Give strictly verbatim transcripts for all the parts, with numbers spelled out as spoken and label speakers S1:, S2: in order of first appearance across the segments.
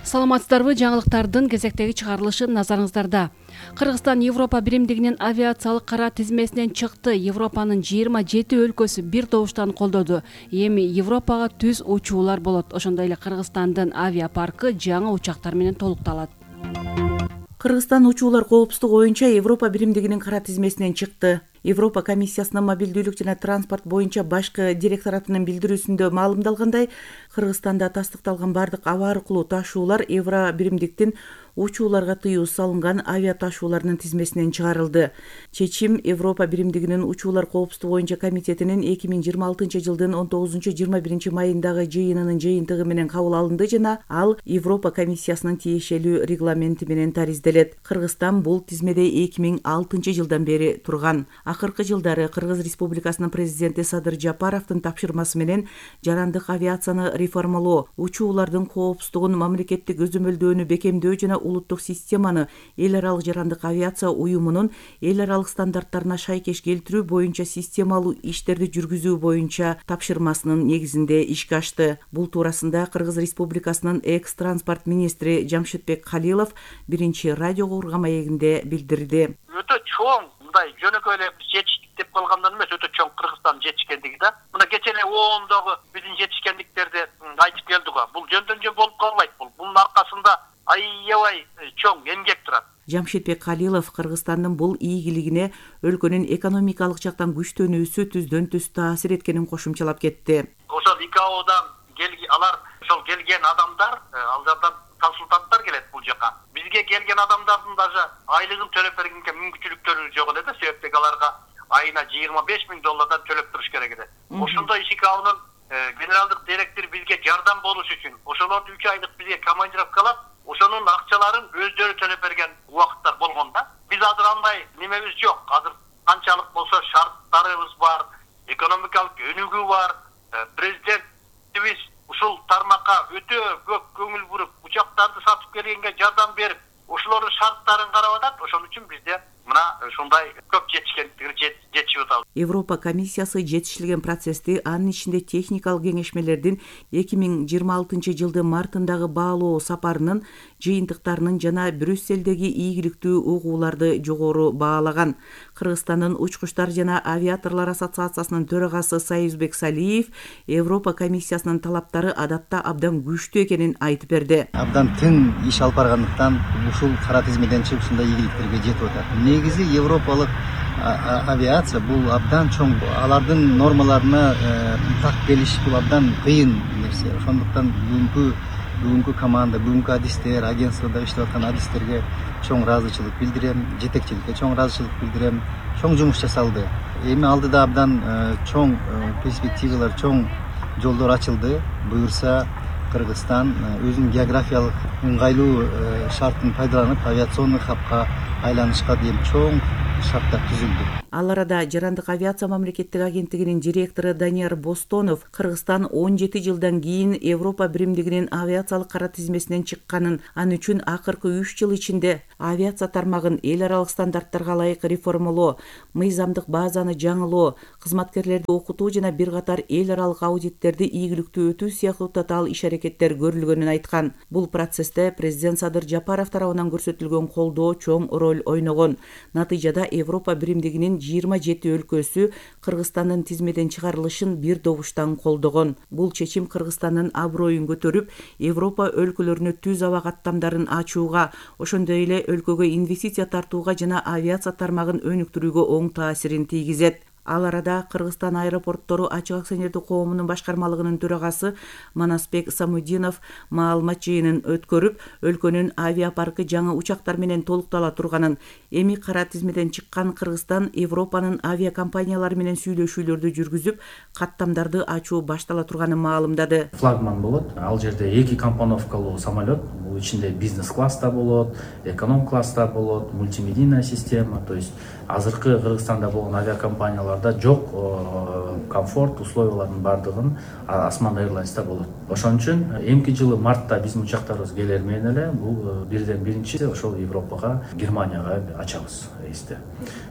S1: Саламатсыздарбы, жаңылыктардын кезектеги чыгарылышы назарыңыздарда. Кыргызстан Европа биримдигинин авиациялык кара тизмесинен чыкты. Европанын жыйырма жети өлкөсү бир добуштан колдоду. Эми Европага түз учуулар болот. Ошондой эле Кыргызстандын авиапаркы жаңы учактар менен толукталат. Кыргызстан учуулар коопсуздугу боюнча Европа биримдигинин кара тизмесинен чыкты. Европа комиссиясынын мобилдүүлүк жана транспорт боюнча башкы директоратынын билдирүүсүндө маалымдалгандай, Кыргызстанда тастыкталган бардык аба аркылуу ташуулар Евро биримдиктин учууларга тыюу салынган авиа ташуулардын тизмесинен чыгарылды. Чечим Европа биримдигинин учуулар коопсуздугу боюнча комитетинин эки миң жыйырма алтынчы жылдын он тогузунчу жыйырма биринчи майындагы жыйынынын жыйынтыгы менен кабыл алынды жана ал Европа комиссиясынын тиешелүү регламенти менен таризделет. Кыргызстан бул тизмеде эки миң алтынчы жылдан бери турган. Акыркы жылдары Кыргыз Республикасынын президенти Садыр Жапаровдун тапшырмасы менен жарандык авиацияны реформалоо, учуулардын коопсуздугун, мамлекеттик өзөмөлдөөнү бекемдөө жана улуттук системаны эл аралык жарандык авиация уюмунун эл аралык стандарттарына шайкеш келтирүү боюнча системалуу иштерди жүргүзүү боюнча тапшырмасынын негизинде ишке ашты. Бул туурасында Кыргыз Республикасынын экс транспорт министри Жамшитбек Калилов биринчи радиого урган маегинде билдирди.
S2: Өтө чоң мындай жөнөкөй эле жетиштик деп калгандан эмес, өтө чоң Кыргызстан жетишкендиги да. Мына кечээ эле оондогу биздин жетишкендиктерди айтып келдик го. Бул жөндөн жөн болуп калбайт. Бул бунун аркасында аябай чоң эмгек турат.
S1: Жамшитбек Калилов Кыргызстандын бул ийгилигине өлкөнүн экономикалык жактан күчтөнүүсү түздөн түз таасир эткенин кошумчалап кетти.
S2: Ошол ИКАОдан келген алар, ошол келген адамдар, ал жактан консультанттар келет бул жака. Бизге келген адамдардын даже айлыгын төлөп бергенге мүмкүнчүлүктөрү жок эле да, себептеги аларга айына жыйырма беш миң доллардан төлөп туруш керек эле. Ошондой ИКАОнун генералдык директори бизге жардам болуш үчүн ошолорду үч айлык бизге командировкалап, ошонун акчаларын өздөрү төлөп берген убакыттар болгон да. Биз азыр андай немебиз жок. Азыр канчалык болсо шарттарыбыз бар, экономикалык өнүгүү бар. Президентибиз ушул тармакка өтө көп көңүл буруп, учактарды сатып келгенге жардам берип, ошолордун шарттарын карап атат. Ошон үчүн бизде мына ушундай көп жетишкендикти жетишип атабыз.
S1: Европа комиссиясы жетишилген процессти, анын ичинде техникалык кеңешмелердин эки миң жыйырма алтынчы жылдын мартындагы баалоо сапарынын жыйынтыктарынын жана Брюсселдеги ийгиликтүү угууларды жогору баалаган. Кыргызстандын учкучтар жана авиаторлор ассоциациясынын төрагасы Союзбек Салиев Европа комиссиясынын талаптары адатта абдан күчтүү экенин айтып берди.
S3: Абдан тың иш алып баргандыктан ушул кара тизмеден чыгып ушундай ийгиликтерге жетип атат. Негизи европалык авиация бул абдан чоң, алардын нормаларына так келиш бул абдан кыйын нерсе. Ошондуктан бүгүнкү бүгүнкү команда, бүгүнкү адистер, агентствода иштеп аткан адистерге чоң ыраазычылык билдирем, жетекчиликке чоң ыраазычылык билдирем. Чоң жумуш жасалды. Эми алдыда абдан чоң перспективалар, чоң жолдор ачылды. Буюрса Кыргызстан өзүнүн географиялык ыңгайлуу шартын пайдаланып авиационный хабка айланышка дейин чоң шарттар түзүлдү.
S1: Ал арада жарандык авиация мамлекеттик агенттигинин директору Данияр Бостонов Кыргызстан он жети жылдан кийин Европа биримдигинин авиациялык кара тизмесинен чыкканын, ал үчүн акыркы үч жыл ичинде авиация тармагын эл аралык стандарттарга ылайык реформалоо, мыйзамдык базаны жаңылоо, кызматкерлерди окутуу жана бир катар эл аралык аудиттерди ийгиликтүү өтүү сыяктуу татаал иш-аракеттер көрүлгөнүн айткан. Бул процессте президент Садыр Жапаров тарабынан көрсөтүлгөн колдоо чоң роль ойногон. Натыйжада Европа биримдигинин жыйырма жети өлкөсү Кыргызстандын тизмеден чыгарылышын бир добуштан колдогон. Бул чечим Кыргызстандын аброюн көтөрүп, Европа өлкөлөрүнө түз аба каттамдарын ачууга, ошондой эле өлкөгө инвестиция тартууга жана авиация тармагын өнүктүрүүгө оң таасирин тийгизет. Ал арада Кыргызстан аэропорттору ачык акционердик коомунун башкармалыгынын төрагасы Манасбек Самудинов маалымат жыйынын өткөрүп, өлкөнүн авиапаркы жаңы учактар менен толуктала турганын, эми кара тизмеден чыккан Кыргызстан Европанын авиакомпаниялары менен сүйлөшүүлөрдү жүргүзүп, каттамдарды ачуу баштала турганын маалымдады.
S4: Флагман болот. Ал жерде эки компоновкалуу самолет, бул ичинде бизнес класста болот, эконом класста болот, мультимедийная система, то есть азыркы Кыргызстанда болгон авиакомпанияларда жок комфорт условиялардын баардыгын Osman Airlines'та болот. Ошон үчүн эмки жылы мартта биздин учактарыбыз келер менен эле бул бирден биринчи ошол Европага, Германияга ачабыз рейсти.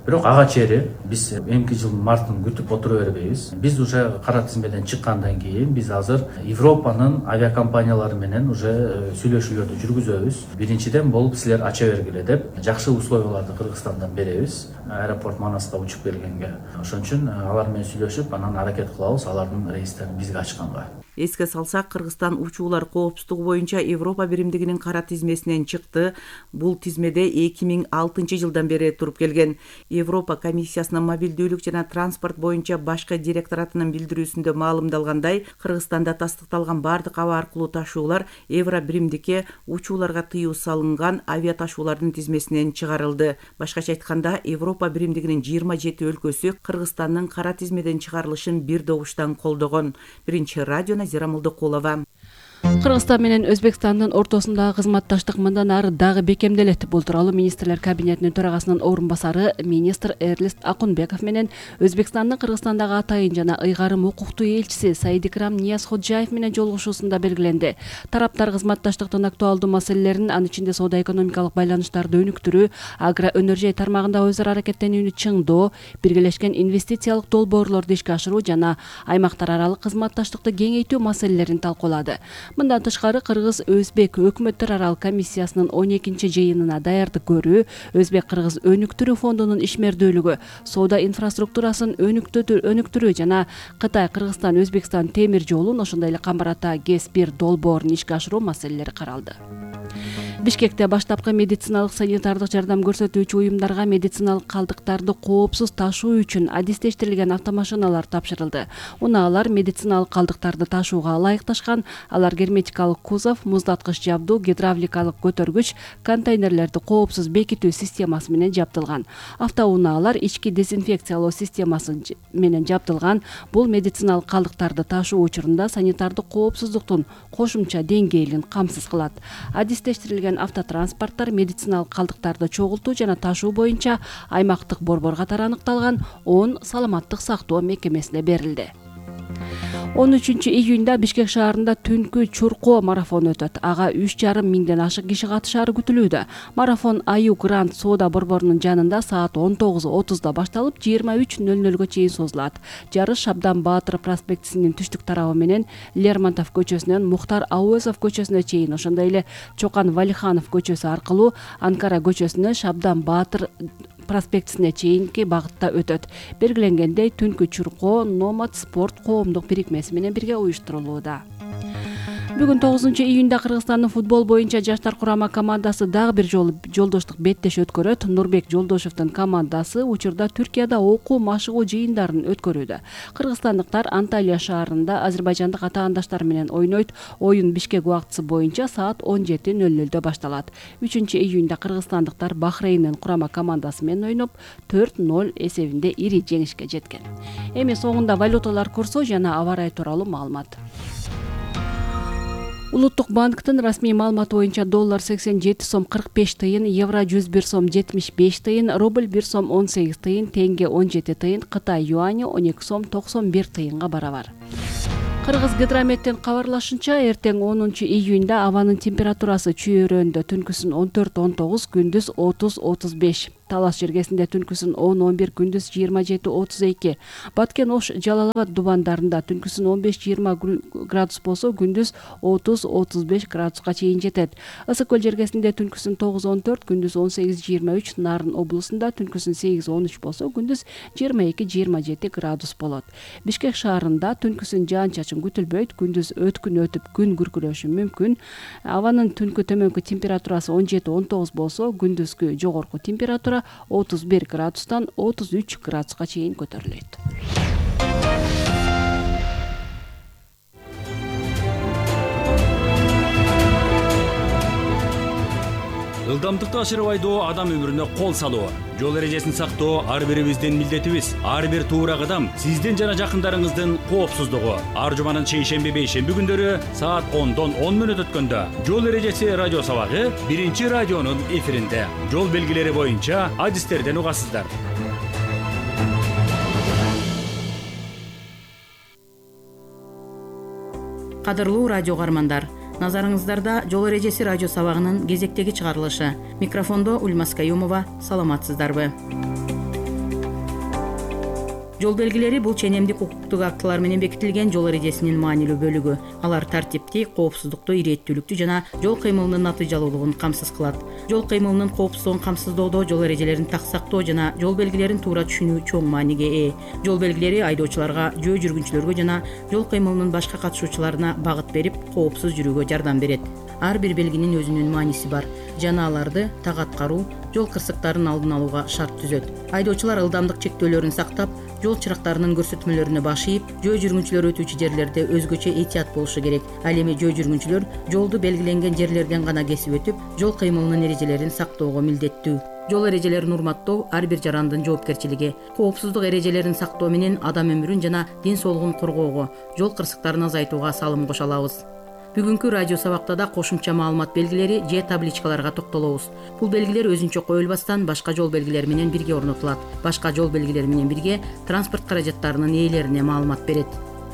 S4: Бирок ага чейин биз эмки жылдын мартын күтүп отура бербейбиз. Биз уже кара тизмеден чыккандан кийин биз азыр Европанын авиакомпаниялары менен уже сүйлөшүүлөрдү жүргүзөбүз. Биринчиден болуп силер ача бергиле деп жакшы условияларды Кыргызстандан беребиз. Аэропорт Манаска учуп келгенге. Ошон үчүн алар менен сүйлөшүп, анан аракет кылабыз алардын рейстерин бизге ачканга.
S5: Эске салсак, Кыргызстан учуулар коопсуздугу боюнча Европа биримдигинин кара тизмесинен чыкты. Бул тизмеде эки миң алтынчы жылдан бери туруп келген. Европа комиссиясынын мобилдүүлүк жана транспорт боюнча башкы директоратынын билдирүүсүндө маалымдалгандай, Кыргызстанда тастыкталган бардык аба аркылуу ташуулар Евро биримдикке учууларга тыюу салынган авиа ташуулардын тизмесинен чыгарылды. Башкача айтканда, Европа биримдигинин жыйырма жети өлкөсү Кыргызстандын кара тизмеден чыгарылышын бир добуштан колдогон. Биринчи радио Назира Молдокулова.
S1: Кыргызстан менен Өзбекстандын ортосундагы кызматташтык мындан ары дагы бекемделет. Бул тууралуу министрлер кабинетинин төрагасынын орун басары министр Эрлист Акунбеков менен Өзбекстандын Кыргызстандагы атайын жана ыйгарым укуктуу элчиси Саидикрам Ниязходжаев менен жолугушуусунда белгиленди. Тараптар кызматташтыктын актуалдуу маселелерин, анын ичинде соода-экономикалык байланыштарды өнүктүрүү, агроөнөржай тармагында өзара аракеттенүүнү чыңдоо, биргелешкен инвестициялык долбоорлорду ишке ашыруу жана аймактар аралык кызматташтыкты кеңейтүү маселелерин талкуулады. Мындан тышкары Кыргыз-Өзбек өкмөттөр аралык комиссиясынын он экинчи жыйынына даярдык көрүү, Өзбек-Кыргыз өнүктүрүү фондунун ишмердүүлүгү, соода инфраструктурасын өнүктүрүү жана Кытай-Кыргызстан-Өзбекстан темир жолун, ошондой эле Камбар Ата ГЭС бир долбоорун ишке ашыруу маселелери каралды. Бишкекте баштапкы медициналык санитардык жардам көрсөтүүчү уюмдарга медициналык калдыктарды коопсуз ташуу үчүн адистештирилген автомашиналар тапшырылды. Унаалар медициналык калдыктарды ташууга ылайыкташкан. Алар герметикалык кузов, муздаткыч жабдуу, гидравликалык көтөргүч, контейнерлерди коопсуз бекитүү системасы менен жабдылган. Автоунаалар ички дезинфекциялоо системасы менен жабдылган. Бул медициналык калдыктарды ташуу учурунда санитардык коопсуздуктун кошумча деңгээлин камсыз кылат. Адистештирилген автотранспорттор медициналык калдыктарды чогултуу жана ташуу боюнча аймактык борбор катары аныкталган он саламаттык сактоо мекемесине берилди. он үчүнчү июнда Бишкек шаарында түнкү чуркоо марафону өтөт. Ага үч жарым миңден ашык киши катышаары күтүлүүдө. Марафон Аю Гранд соода борборунун жанында саат он тогуз отузда башталып, жыйырма үч нөл нөлгө чейин созулат. Жарыш Шабдан Баатыр проспектисинин түштүк тарабы менен Лермонтов көчөсүнөн Мухтар Ауезов көчөсүнө чейин, ошондой эле Чокан Валиханов көчөсү аркылуу Анкара көчөсүнө Шабдан Баатыр проспектисине чейинки багытта өтөт. Белгиленгендей, түнкү чуркоо Номад спорт коомдук бирикмеси менен бирге уюштурулууда. Бүгүн тогузунчу июнда Кыргызстандын футбол боюнча жаштар курама командасы дагы бир жолу жолдоштук беттеш өткөрөт. Нурбек Жолдошевдун командасы учурда Түркияда окуу машыгуу жыйындарын өткөрүүдө. Кыргызстандыктар Анталия шаарында азербайжандык атаандаштар менен ойнойт. Оюн Бишкек убактысы боюнча саат он жети нөл нөлдө башталат. үчүнчү июнда кыргызстандыктар Бахрейндин курама командасы менен ойноп төрт ноль эсебинде ири жеңишке жеткен. Эми соңунда валюталар курсу жана аба ырайы тууралуу маалымат. Улуттук банктын расмий маалыматы боюнча доллар сексен жети сом кырк беш тыйын, евро жүз бир сом жетимиш беш тыйын, рубль бир сом он сегиз тыйын, тенге он жети тыйын, Кытай юани он эки сом токсон бир тыйынга барабар. Кыргыз гидрометтин кабарлашынча, эртең онунчу июнда абанын температурасы чүйөрөндө түнкүсүн он төрт он тогуз, күндүз отуз отуз беш. Талас жергесинде түнкүсүн он он бир, күндүз жыйырма жети отуз эки. Баткен Ош Жалал Абад дубандарында түнкүсүн он беш жыйырма градус болсо, күндүз отуз отуз беш градуска чейин жетет. Ысык көл жергесинде түнкүсүн тогуз он төрт, күндүз он сегиз жыйырма үч, Нарын облусунда түнкүсүн сегиз он үч болсо, күндүз жыйырма эки жыйырма жети градус болот. Бишкек шаарында түнкүсүн жаан-чачын күтүлбөйт, күндүз өткүн өтүп күн күркүрөшү мүмкүн. Абанын түнкү төмөнкү температурасы он жети он тогуз болсо, күндүзгү жогорку температура отуз бир градустан отуз үч градуска чейин көтөрүлөт.
S6: Ылдамдыкты ашырбайдоо адам өмүрүнө кол салуу, жол эрежесин сактоо ар бирибиздин милдетибиз. Ар бир туура кадам сиздин жана жакындарыңыздын коопсуздугу. Ар жуманын шейшемби бейшемби күндөрү саат ондон он мүнөт өткөндө жол эрежеси радио сабагы биринчи радионун эфиринде. Жол белгилери боюнча адистерден угасыздар.
S5: Кадырлуу радио угармандар, назарыңыздарда жол эрежеси радио сабагынын кезектеги чыгарылышы. Микрофондо Ульмас Каюмова. Саламатсыздарбы? Жол белгилери бул ченемдик укуктук актылар менен бекитилген жол эрежесинин маанилүү бөлүгү. Алар тартипти, коопсуздукту, ирээттүүлүктү жана жол кыймылынын натыйжалуулугун камсыз кылат. Жол кыймылынын коопсуздугун камсыздоодо жол эрежелерин так сактоо жана жол белгилерин туура түшүнүү чоң мааниге ээ. Жол белгилери айдоочуларга, жөө жүргүнчүлөргө жана жол кыймылынын башка катышуучуларына багыт берип, коопсуз жүрүүгө жардам берет. Ар бир белгинин өзүнүн мааниси бар жана аларды так аткаруу жол кырсыктарын алдын алууга шарт түзөт. Айдоочулар ылдамдык чектөөлөрүн сактап, жол чырактарынын көрсөтмөлөрүнө баш ийип, жөө жүргүнчүлөр өтүүчү жерлерде өзгөчө этият болушу керек. Ал эми жөө жүргүнчүлөр жолду белгиленген жерлерден гана кесип өтүп, жол кыймылынын эрежелерин сактоого милдеттүү. Жол эрежелерин урматтоо ар бир жарандын жоопкерчилиги. Коопсуздук эрежелерин сактоо менен адам өмүрүн жана ден соолугун коргоого, жол кырсыктарын азайтууга салым кошо алабыз. Бүгүнкү радио сабакта да кошумча маалымат белгилери же табличкаларга токтолобуз. Бул белгилер өзүнчө коюлбастан башка жол белгилери менен бирге орнотулат. Башка жол белгилери менен бирге транспорт каражаттарынын ээлерине маалымат берет.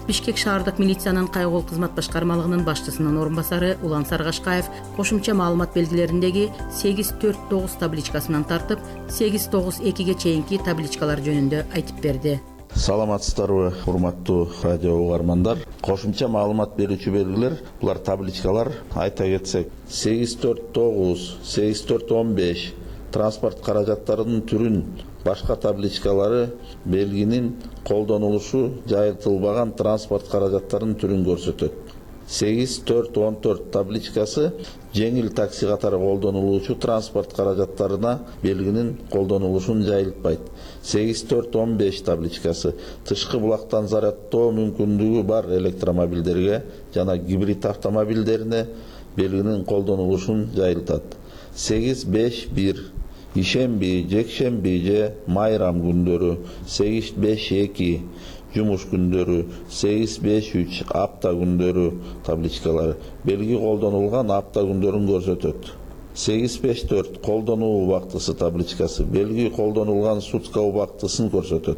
S5: Бишкек шаардык милициянын кайгыл кызмат башкармалыгынын башчысынын орун басары Улан Саргашкаев кошумча маалымат белгилериндеги сегиз төрт тогуз табличкасынан тартып, сегиз тогуз экиге чейинки табличкалар жөнүндө айтып берди.
S7: Саламатсыздарбы, урматтуу радио угармандар. Кошумча маалымат берүүчү белгилер, булар табличкалар. Айта кетсек, сегиз төрт тогуз, сегиз төрт он беш транспорт каражаттарынын түрүн, башка табличкалары белгинин колдонулушу жайылтылбаган транспорт каражаттарынын түрүн көрсөтөт. сегиз төрт он төрт табличкасы жеңил такси катары колдонулуучу транспорт каражаттарына белгинин колдонулушун жайылтпайт. сегиз төрт он беш табличкасы тышкы булактан зарядтоо мүмкүндүгү бар электромобилдерге жана гибрид автомобилдерине белгинин колдонулушун жайылтат. сегиз беш бир ишемби, жекшемби же майрам күндөрү, сегиз беш эки жумуш күндөрү, сегиз беш үч апта күндөрү табличкалары белги колдонулган апта күндөрүн көрсөтөт. сегиз беш төрт колдонуу убактысы табличкасы белги колдонулган сутка убактысын көрсөтөт.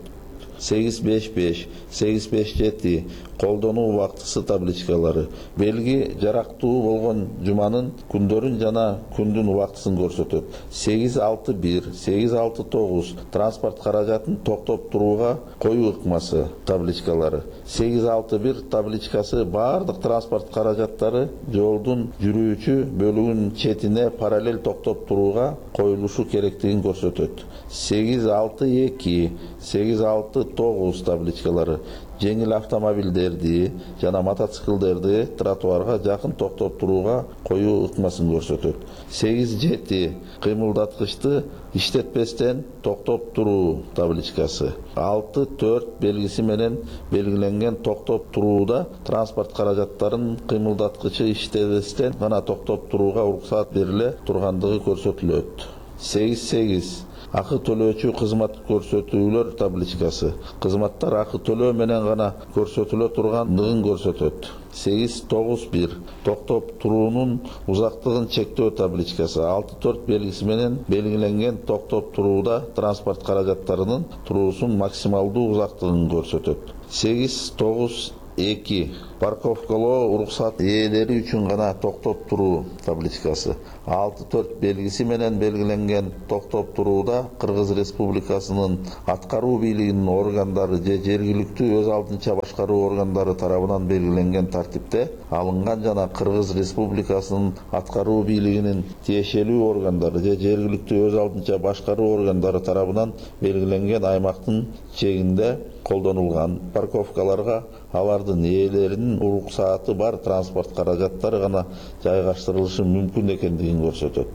S7: сегиз беш беш, сегиз беш жети колдонуу убактысы табличкалары белги жарактуу болгон жуманын күндөрүн жана күндүн убактысын көрсөтөт. сегиз алты бир, сегиз алты тогуз транспорт каражатын токтоп турууга коюу ыкмасы табличкалары сегиз алты бир табличкасы баардык транспорт каражаттары жолдун жүрүүчү бөлүгүнүн четине параллель токтоп турууга коюлушу керектигин көрсөтөт. сегиз алты эки, сегиз алты тогуз табличкалары жеңил автомобилдерди жана мотоциклдерди тротуарга жакын токтоп турууга коюу ыкмасын көрсөтөт. сегиз жети кыймылдаткычты иштетпестен токтоп туруу табличкасы алты төрт белгиси менен белгиленген токтоп турууда транспорт каражаттарын кыймылдаткычы иштебестен гана токтоп турууга уруксат бериле тургандыгы көрсөтүлөт. сегиз сегиз акы төлөөчү кызмат көрсөтүүлөр табличкасы кызматтар акы төлөө менен гана көрсөтүлө тургандыгын көрсөтөт. сегиз тогуз бир токтоп туруунун узактыгын чектөө табличкасы алты төрт белгиси менен белгиленген токтоп турууда транспорт каражаттарынын туруусунун максималдуу узактыгын көрсөтөт. сегиз тогуз эки парковкалоо уруксат ээлери үчүн гана токтоп туруу табличкасы алты төрт белгиси менен белгиленген токтоп турууда Кыргыз Республикасынын аткаруу бийлигинин органдары же жергиликтүү өз алдынча башкаруу органдары тарабынан белгиленген тартипте алынган жана Кыргыз Республикасынын аткаруу бийлигинин тиешелүү органдары же жергиликтүү өз алдынча башкаруу органдары тарабынан белгиленген аймактын чегинде колдонулган парковкаларга алардын ээлеринин уруксааты бар транспорт каражаттары гана жайгаштырылышы мүмкүн экендигин көрсөтөт.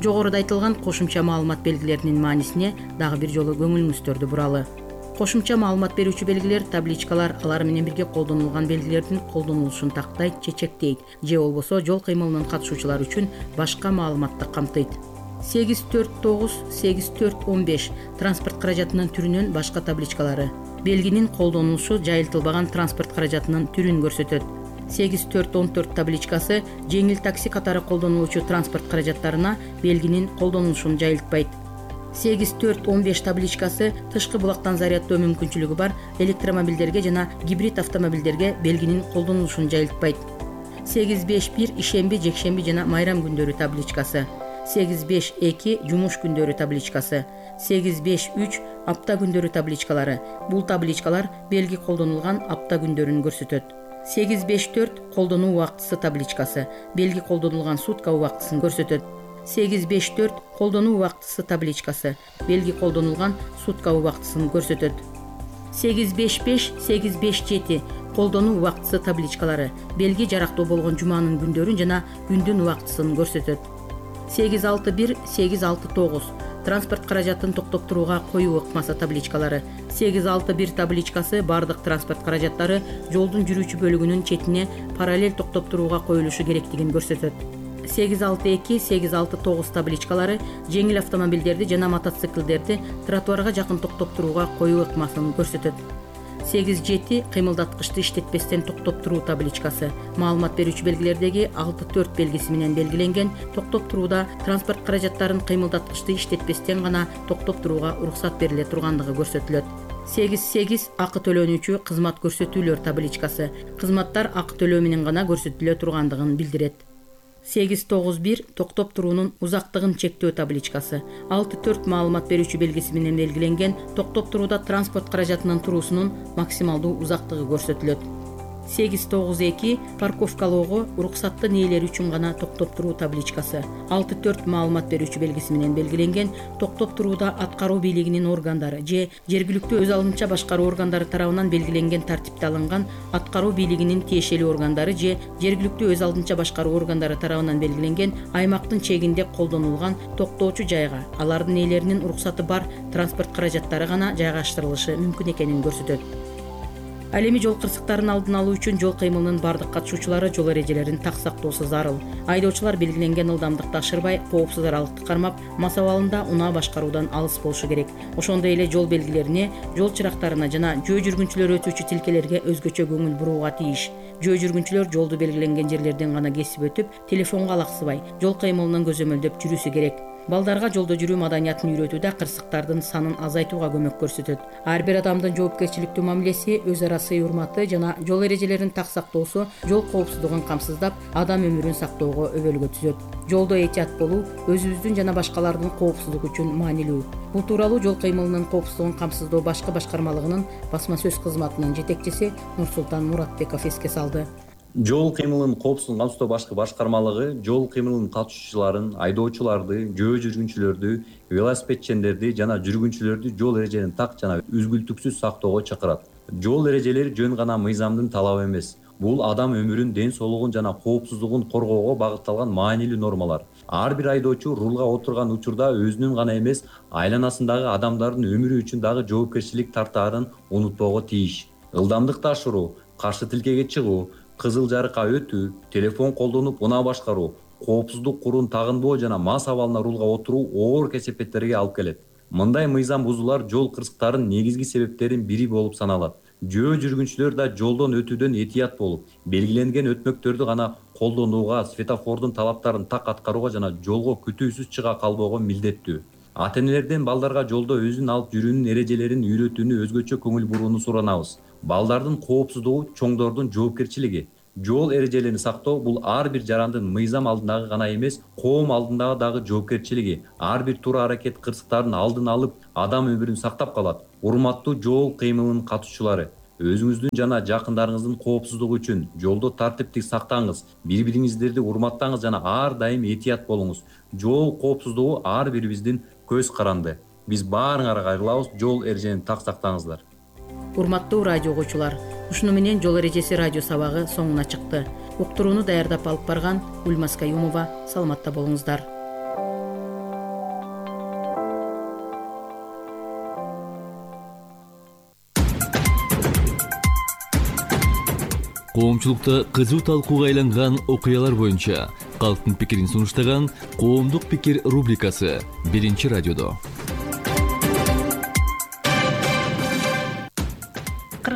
S5: Жогоруда айтылган кошумча маалымат белгилеринин маанисине дагы бир жолу көңүлүңүздөрдү буралы. Кошумча маалымат берүүчү белгилер, табличкалар алар менен бирге колдонулган белгилердин колдонулушун тактайт, чечектейт же болбосо жол кыймылынын катышуучулары үчүн башка маалыматты камтыйт. сегиз төрт тогуз, сегиз төрт он беш транспорт каражатынын түрүнөн башка табличкалары белгинин колдонулушу жайылтылбаган транспорт каражатынын түрүн көрсөтөт. сегиз төрт он төрт табличкасы жеңил такси катары колдонулуучу транспорт каражаттарына белгинин колдонулушун жайылтпайт.
S8: сегиз төрт он беш табличкасы тышкы булактан заряддоо мүмкүнчүлүгү бар электромобилдерге жана гибрид автомобилдерге белгинин колдонулушун жайылтпайт. сегиз беш бир ишемби, жекшемби жана майрам күндөрү табличкасы. сегиз беш эки жумуш күндөрү табличкасы. сегиз беш үч апта күндөрү табличкалары. Бул табличкалар белги колдонулган апта күндөрүн көрсөтөт. сегиз беш төрт колдонуу убактысы табличкасы. Белги колдонулган сутка убактысын көрсөтөт. сегиз беш төрт колдонуу убактысы табличкасы. Белги колдонулган сутка убактысын көрсөтөт. сегиз беш беш сегиз беш жети колдонуу убактысы табличкалары. Белги жарактуу болгон жуманын күндөрүн жана күндүн убактысын көрсөтөт. сегиз алты бир сегиз алты тогуз транспорт каражатын токтоп турууга коюу ыкмасы табличкалары. сегиз алты бир табличкасы бардык транспорт каражаттары жолдун жүрүүчү бөлүгүнүн четине параллель токтоп турууга коюлушу керектигин көрсөтөт. сегиз алты эки сегиз алты тогуз табличкалары жеңил автомобилдерди жана мотоциклдерди тротуарга жакын токтоп турууга коюу ыкмасын көрсөтөт. сегиз жети кыймылдаткычты иштетпестен токтоп туруу табличкасы. Маалымат берүүчү белгилердеги алты төрт белгиси менен белгиленген токтоп турууда транспорт каражаттарын кыймылдаткычты иштетпестен гана токтоп турууга уруксат бериле тургандыгы көрсөтүлөт. сегиз сегиз акы төлөнүүчү кызмат көрсөтүүлөр табличкасы. Кызматтар акы төлөө менен гана көрсөтүлө тургандыгын билдирет. сегиз тогуз бир токтоп туруунун узактыгын чектөө табличкасы. алты төрт маалымат берүүчү белгиси менен белгиленген токтоп турууда транспорт каражатынын туруусунун максималдуу узактыгы көрсөтүлөт. сегиз тогуз эки парковкалоого уруксаттын ээлери үчүн гана токтоп туруу табличкасы. алты төрт маалымат берүүчү белгиси менен белгиленген токтоп турууда аткаруу бийлигинин органдары же жергиликтүү өз алынча башкаруу органдары тарабынан белгиленген тартипте алынган аткаруу бийлигинин тиешелүү органдары же жергиликтүү өз алынча башкаруу органдары тарабынан белгиленген аймактын чегинде колдонулган токтоочу жайга алардын ээлеринин уруксаты бар транспорт каражаттары гана жайгаштырылышы мүмкүн экенин көрсөтөт. Ал эми жол кырсыктарын алдын алуу үчүн жол кыймылынын бардык катышуучулары жол эрежелерин так сактоосу зарыл. Айдоочулар белгиленген ылдамдыкты ашырбай, коопсуз аралыкты кармап, мас абалында унаа башкаруудан алыс болушу керек. Ошондой эле жол белгилерине, жол чырактарына жана жөө жүргүнчүлөр өтүүчү тилкелерге өзгөчө көңүл бурууга тийиш. Жөө жүргүнчүлөр жолду белгиленген жерлерден гана кесип өтүп, телефонго алаксыбай, жол кыймылынын көзөмөлдөп жүрүүсү керек. Балдарга жолдо жүрүү маданиятын үйрөтүүдө кырсыктардын санын азайтууга көмөк көрсөтөт. Ар бир адамдын жоопкерчиликтүү мамилеси, өз ара сый урматы жана жол эрежелерин так сактоосу жол коопсуздугун камсыздап, адам өмүрүн сактоого өбөлгө түзөт. Жолдо этият болуу өзүбүздүн жана башкалардын коопсуздугу үчүн маанилүү. Бул тууралуу жол кыймылынын коопсуздугун камсыздоо башкы башкармалыгынын басма сөз кызматынын жетекчиси Нурсултан Муратбеков эске салды.
S9: Жол кыймылынын коопсуздугун камсыздоо башкы башкармалыгы жол кыймылынын катышуучуларын, айдоочуларды, жөө жүргүнчүлөрдү, велосипедчендерди жана жүргүнчүлөрдү жол эрежелерин так жана үзгүлтүксүз сактоого чакырат. Жол эрежелери жөн гана мыйзамдын талабы эмес. Бул адам өмүрүн, ден соолугун жана коопсуздугун коргоого багытталган маанилүү нормалар. Ар бир айдоочу рулга отурган учурда өзүнүн гана эмес, айланасындагы адамдардын өмүрү үчүн дагы жоопкерчилик тартаарын унутпоого тийиш. Ылдамдыкты ашыруу, каршы тилкеге чыгуу, кызыл жарыкка өтүү, телефон колдонуп унаа башкаруу, коопсуздук куруун тагынбоо жана мас абалына рулга отуруу оор кесепеттерге алып келет. Мындай мыйзам бузуулар жол кырсыктарынын негизги себептеринин бири болуп саналат. Жөө жүргүнчүлөр да жолдон өтүүдөн этият болуп, белгиленген өтмөктөрдү гана колдонууга, светофордун талаптарын так аткарууга жана жолго күтүүсүз чыга калбоого милдеттүү. Ата-энелерден балдарга жолдо өзүн алып жүрүүнүн эрежелерин үйрөтүүнү өзгөчө көңүл бурууну суранабыз. Балдардын коопсуздугу чоңдордун жоопкерчилиги. Жол эрежелерин сактоо бул ар бир жарандын мыйзам алдындагы гана эмес, коом алдындагы дагы жоопкерчилиги. Ар бир туура аракет кырсыктардын алдын алып, адам өмүрүн сактап калат. Урматтуу жол кыймылынын катышуучулары, өзүңүздүн жана жакындарыңыздын коопсуздугу үчүн жолдо тартиптик сактаңыз, бири-бириңиздерди урматтаңыз жана ар дайым этият болуңуз. Жол коопсуздугу ар бирибиздин көз каранды. Биз баарыңарга кайрылабыз, жол эрежелерин так сактаңыздар.
S8: Урматтуу радио угуучулар, ушуну менен жол эрежеси радио сабагы соңуна чыкты. Уктурууну даярдап алып барган Гүлмаз Каюмова, саламатта болуңуздар.
S10: Коомчулукта кызуу талкууга айланган окуялар боюнча калктын пикирин сунуштаган Коомдук пикир рубрикасы биринчи радиодо.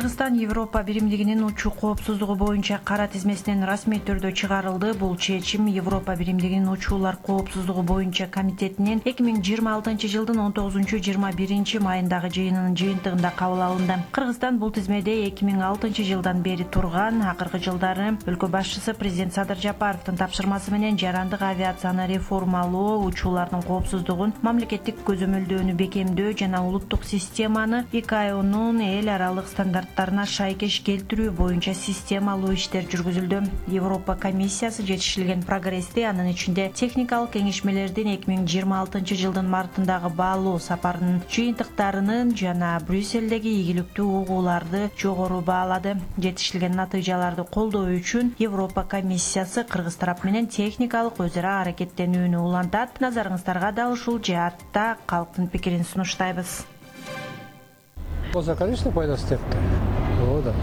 S11: Кыргызстан Европа биримдигинин учуу коопсуздугу боюнча кара тизмесинен расмий түрдө чыгарылды. Бул чечим Европа биримдигинин учуулар коопсуздугу боюнча комитетинин эки миң жыйырма алтынчы жылдын он тогузунчу жыйырма биринчи майындагы жыйынынын жыйынтыгында кабыл алынды. Кыргызстан бул тизмеде эки миң алтынчы жылдан бери турган. Акыркы жылдары өлкө башчысы президент Садыр Жапаровдун тапшырмасы менен жарандык авиацияны реформалоо, учуулардын коопсуздугун, мамлекеттик көзөмөлдөөнү бекемдөө жана улуттук системаны и к а онун эл аралык стандарттарына шайкеш келтирүү боюнча системалуу иштер жүргүзүлдү. Европа комиссиясы жетишилген прогрессти, анын ичинде техникалык кеңешмелердин эки миң жыйырма алтынчы жылдын мартындагы баалоо сапарынын жыйынтыктарынын жана Брюссельдеги ийгиликтүү угууларды жогору баалады. Жетишилген натыйжаларды колдоо үчүн Европа комиссиясы Кыргыз тарап менен техникалык өзара аракеттенүүнү улантат. Назарыңыздарга да ушул жаатта калктын пикирин сунуштайбыз.
S12: Болса, конечно, пайдасы тепти. Ооба да.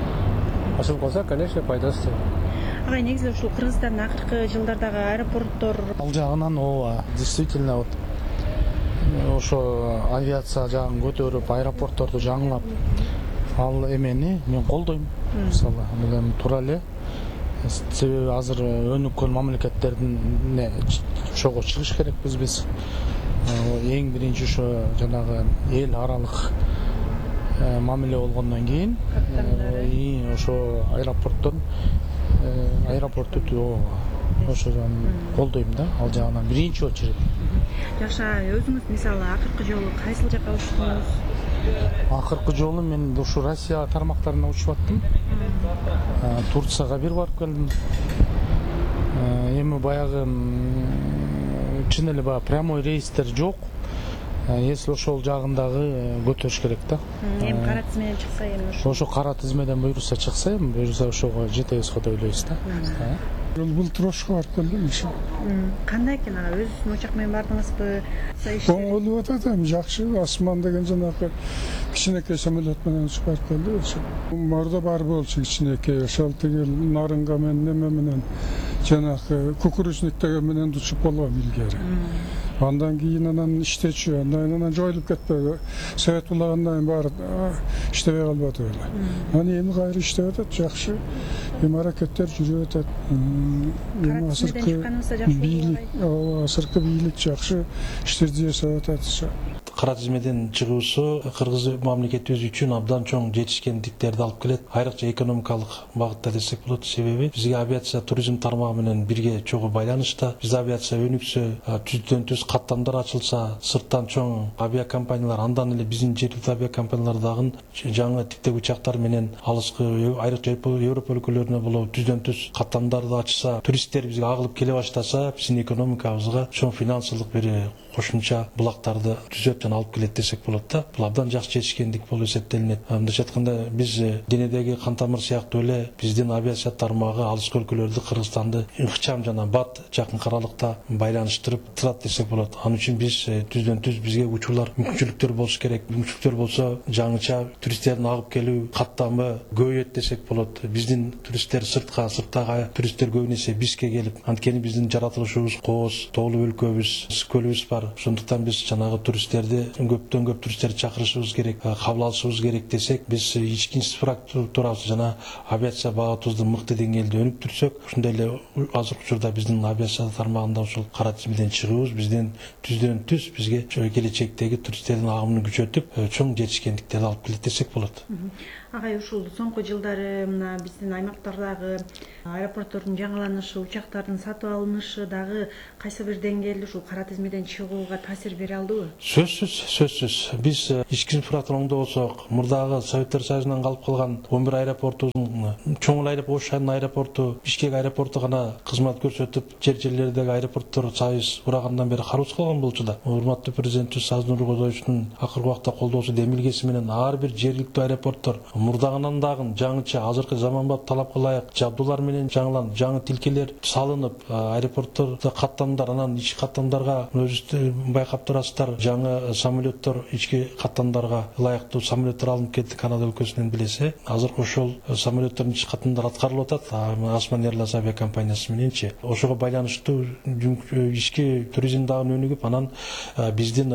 S12: Ошол болсо, конечно, пайдасы теп.
S11: Агай, негизи ушул Кыргызстандын акыркы жылдардагы аэропорттор
S12: ал жагынан ооба, действительно вот ошо авиация жагын көтөрүп, аэропортторду жаңылап, ал эмени мен колдойм. Мисалы, бул эми туура эле. Себеби азыр өнүккөн мамлекеттердин чогуу чыгыш керекпиз биз. Эң биринчи ошо жанагы эл аралык мамиле болгондон кийин ошо аэропорттон аэропортту ошодон колдойм да, ал жагынан биринчи очередь.
S11: Жакшы, өзүңүз мисалы акыркы жолу кайсыл жакка учтуңуз?
S12: Акыркы жолу мен ушу Россия тармактарына учуп аттым. Турцияга бир барып келдим. Эми баягы чын эле баягы прямой рейстер жок. Если ошол жагындагы көтөрүш керек да.
S11: Эми кара тизмеден чыкса эми ошо.
S12: Ошо кара тизмеден буйруса чыкса, эми буйруса ошого жетебиз го деп ойлойбуз да.
S13: Былтыр Ошко барып келдим.
S11: Кандай экен ага? Өзүңүздүн учак менен бардыңызбы?
S13: Оңолуп атат эми, жакшы. Асман деген жанагы кичинекей самолет менен учуп барып келди. Мордо бар болчу кичинекей, ошол тиги нарынга менен неме менен жанагы кукурузник деген менен учуп болгом илгери. Андан кийин анан иштечү, андан жоюлуп кетпеди. Совет улагандан кийин баары иштебей калбады эле. Аны эми кайра иштеп атат, жакшы. Эми аракеттер жүрүп атат. Эми азыркы бийлик, азыркы бийлик жакшы иштерди жасап атат.
S14: Кара тизмеден чыгуусу Кыргыз мамлекетибиз үчүн абдан чоң жетишкендиктерди алып келет. Айрыкча экономикалык багытта десек болот. Себеби бизге авиация туризм тармагы менен бирге чогуу байланышта. Биз авиация өнүксө, түздөн түз каттамдар ачылса, сырттан чоң авиакомпаниялар, андан эле биздин жергиликтүү авиакомпаниялар дагы жаңы типтеги учактар менен алыскы айрыкча Европа өлкөлөрүнө боло түздөн түз каттамдарды ачса, туристтер бизге агылып келе баштаса, биздин экономикабызга чоң финансылык бир кошумча булактарды түзөт жана алып келет десек болот да. Бул абдан жакшы жетишкендик болуп эсептелинет. Мындайча айтканда, биз денедеги кан тамыр сыяктуу эле биздин авиация тармагы алыскы өлкөлөрдү, Кыргызстанды ыкчам жана бат жакын аралыкта байланыштырып турат десек болот. Анын үчүн биз түздөн түз бизге учурлар, мүмкүнчүлүктөр болуш керек. Мүмкүнчүлүктөр болсо, жаңыча туристтердин агып келүү каттамы көбөйөт десек болот. Биздин туристтер сыртка, сырттагы туристтер көбүнесе бизге келип, анткени биздин жаратылышыбыз кооз, тоолуу өлкөбүз, көлүбүз бар. Ошондуктан биз жанагы туристтерди көптөн көп туристтерди чакырышыбыз керек, кабыл алышыбыз керек десек, биз ички инфраструктурабыз жана авиация багытыбызды мыкты деңгээлде өнүктүрсөк, ушундай эле азыркы учурда биздин авиация тармагында ушул кара тизмеден чыгуубуз биздин түздөн түз бизге келечектеги туристтердин агымын күчөтүп, чоң жетишкендиктерди алып келет десек болот.
S11: Агай, ушул соңку жылдары мына биздин аймактардагы аэропорттордун жаңыланышы, учактардын сатып алынышы дагы кайсы бир деңгээлде ушул кара тизмеден чыгууга таасир бере алдыбы?
S14: Сөзсүз, сөзсүз. Биз ички инфраструктурада болсок, мурдагы Советтер Союзунан калып калган он бир аэропортубуздун чоң аэропорт, Ош шаарынын аэропорту, Бишкек аэропорту гана кызмат көрсөтүп, жер жерлердеги аэропорттор Союз урагандан бери кароосуз калган болчу да. Урматтуу президентибиз Саздын Нуркозоевичтун акыркы убакта колдоосу демилгеси менен ар бир жергиликтүү аэропорттор мурдагынан дагы жаңыча азыркы заманбап талапка ылайык жабдуулар менен жаңыланып, жаңы тилкелер салынып, аэропорттордо каттамдар, анан ички каттамдарга өзүңүз байкап турасыздар, жаңы самолеттор ички каттамдарга ылайыктуу самолеттор алынып кетти Канада өлкөсүнөн билесе. Азыр ошол самолеттор биринчи катымдар аткарылып атат Osman Airlines авиакомпаниясы мененчи. Ошого байланыштуу ички туризм дагы өнүгүп, анан биздин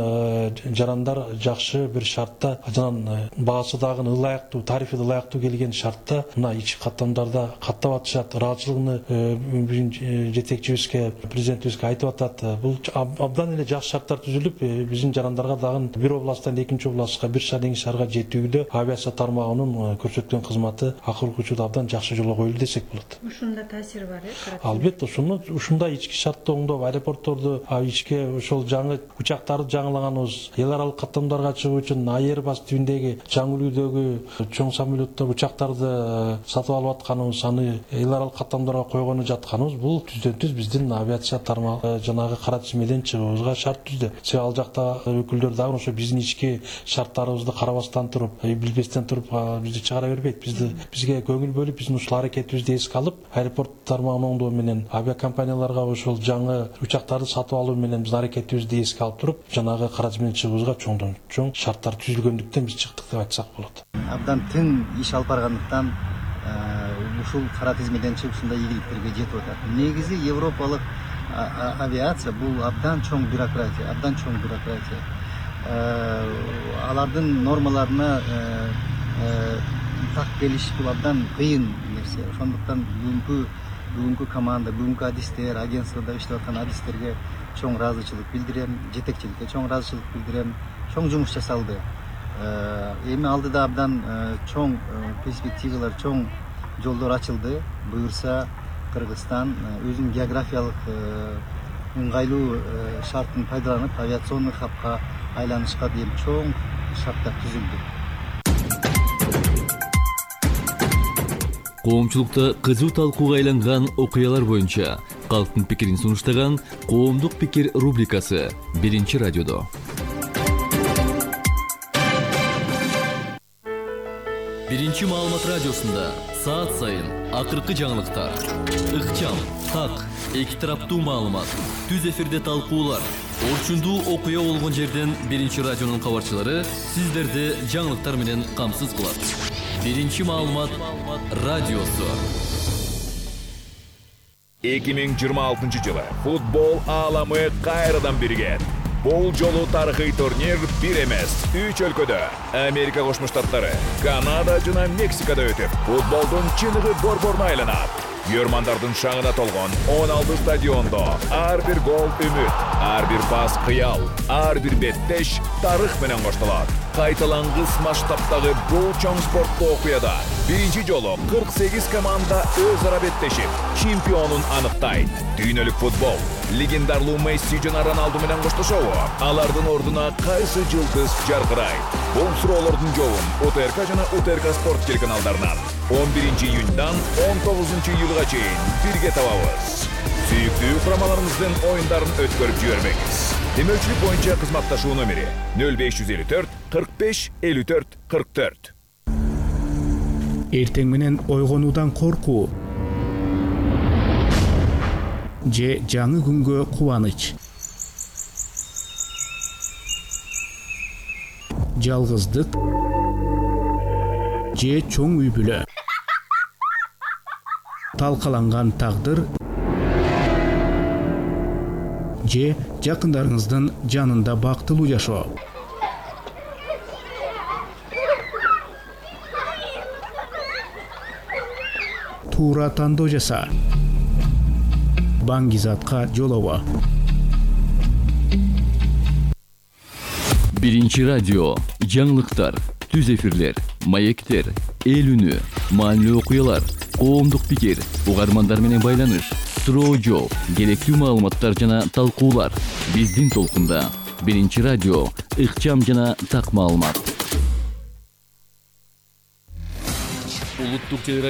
S14: жарандар жакшы бир шартта, анан баасы дагы ылайыктуу, тарифи ылайыктуу келген шартта мына ички каттамдарда каттап атышат. Ыраазычылыгын жетекчибизге, президентибизге айтып атат. Бул абдан эле жакшы шарттар түзүлүп, биздин жарандарга дагы бир областтан экинчи областка, бир шаардан экинчи шаарга жетүүдө авиация тармагынын көрсөткөн кызматы акыл учурда абдан жакшы жолго коюлду десек болот.
S11: Ушунда таасири бар, э?
S14: Албетте, ушуну ушундай ички шартты оңдоп, аэропортторду, ички ошол жаңы учактарды жаңылаганыбыз, эл аралык каттамдарга чыгуу үчүн Airbus түбүндөгү жаңы үлгүдөгү чоң самолеттор, учактарды сатып алып атканыбыз, аны эл аралык каттамдарга койгону жатканыбыз, бул түздөн түз биздин авиация тармагы жанагы кара тизмеден чыгуубузга шарт түздү. Себеби ал жакта өкүлдөр дагы ошо биздин ички шарттарыбызды карабастан туруп, билбестен туруп бизди чыгара бербейт. Бизди бизге көңүл бөлүп, биздин ушул аракетибизди эске алып, аэропорт тармагын оңдоо менен, авиакомпанияларга ошол жаңы учактарды сатып алуу менен биздин аракетибизди эске алып туруп, жанагы кара тизмеден чыгуубузга чоңдон чоң шарттар түзүлгөндүктөн биз чыктык деп айтсак болот.
S3: Абдан тың иш алып баргандыктан ушул кара тизмеден чыгып ушундай ийгиликтерге жетип атат. Негизи европалык авиация бул абдан чоң бюрократия, абдан чоң бюрократия. Алардын нормаларына так келиш бул абдан кыйын нерсе. Ошондуктан бүгүнкү бүгүнкү команда, бүгүнкү адистер, агентствода иштеп аткан адистерге чоң ыраазычылык билдирем, жетекчиликке чоң ыраазычылык билдирем. Чоң жумуш жасалды. Эми алдыда абдан чоң перспективалар, чоң жолдор ачылды. Буюрса Кыргызстан өзүнүн географиялык ыңгайлуу шартын пайдаланып, авиационный хабка айланышка дейин чоң шарттар түзүлдү.
S10: Коомчулукта кызуу талкууга айланган окуялар боюнча калктын пикирин сунуштаган Коомдук пикир рубрикасы биринчи радиодо. Биринчи маалымат радиосунда саат сайын акыркы жаңылыктар, ыкчам, так, эки тараптуу маалымат, түз эфирде талкуулар, орчундуу окуя болгон жерден биринчи радионун кабарчылары сиздерди жаңылыктар менен камсыз кылат. Биринчи маалымат радиосу.
S15: эки миң жыйырма алтынчы жылы футбол ааламы кайрадан биригет. Бул жолу тарыхый турнир бир эмес, үч өлкөдө, Америка Кошмо Штаттары, Канада жана Мексикада өтүп, футболдун чыныгы борборуна айланат. Көрмандардын шаңына толгон он алты стадиондо ар бир гол үмүт, ар бир пас кыял, ар бир беттеш тарых менен коштолот. Кайталангыс масштабтагы бул чоң спорттуу окуяда биринчи жолу кырк сегиз команда өз ара беттешип, чемпионун аныктайт. Дүйнөлүк футбол легендарлуу Месси жана Роналду менен коштошобу? Алардын ордуна кайсы жылдыз жаркырайт? Бул суроолордун жообун УТРК жана УТРК спорт телеканалдарынан он биринчи июньдан он тогузунчу июлга чейин бирге табабыз. Сүйүктүү курамаларыбыздын оюндарын өткөрүп жибербеңиз. Демөөлчүлүк боюнча кызматташуу номери нөл беш жүз элүү төрт кырк беш элүү төрт кырк төрт.
S16: Эртең менен ойгонуудан коркуу же жаңы күнгө кубаныч. Жалгыздык же чоң үй бүлө. Талкаланган тагдыр же жакындарыңыздын жанында бактылуу жашоо. Туура тандоо жаса. Баңгизатка жолобо.
S10: Биринчи радио, жаңылыктар, түз эфирлер, маектер, эл үнү, маанилүү окуялар, коомдук пикир, угармандар менен байланыш, суроо жооп, керектүү маалыматтар жана талкуулар. Биздин толкунда биринчи радио, ыкчам жана так маалымат. Улуттук телерадио